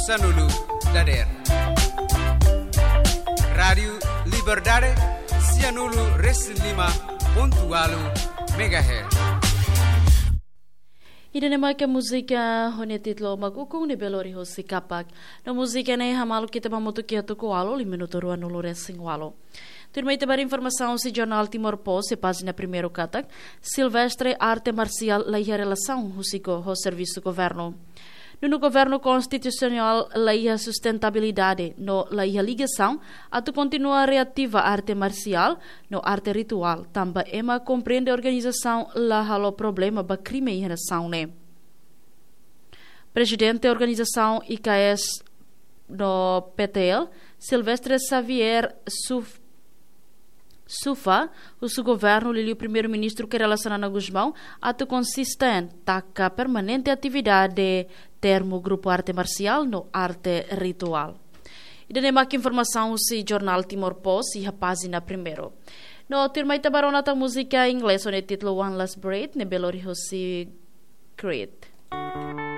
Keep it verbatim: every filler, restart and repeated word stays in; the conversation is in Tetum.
Sanulu dader. Rádiu Liberdade, sianulu resin lima pontu walu megahertz. Ida-ne'e mak múzika ho nia títulu Mak Ukun ne'ebé lori husi Kapak. No múzika ne'e hamaluk ita ba mutu kiatu kualo li minutu ruanulu resin walu. Tuirmai ita ba informasaun husi Jornál Timor Post iha pájina primeiru katak, Silvestre arte marsiál la iha relasaun husi go ho servisu governu. Nonu Governu Konstitusionál la iha sustentabilidade no la iha ligasaun atu kontinua reativa arte marsiál no arte rituál, tanba ema komprende organizasaun la halo problema ba krime iha nasaun ne'e. Prezidente organizasaun I K S no P T L, Silvestre Xavier Suf Sufa, husu governu liuliu Primeiru-Ministru Kay Rala Xanana Gusmão atu konsistente taka permanente atividade termu grupu arte marsiál no arte rituál. Ida-ne'e mak informasaun husi Jornál Timor Post iha pájina primeiru. No tuirmai ita ba rona tan múzika inglés ho nia títulu One Last Breath ne'ebé lori husi Creed.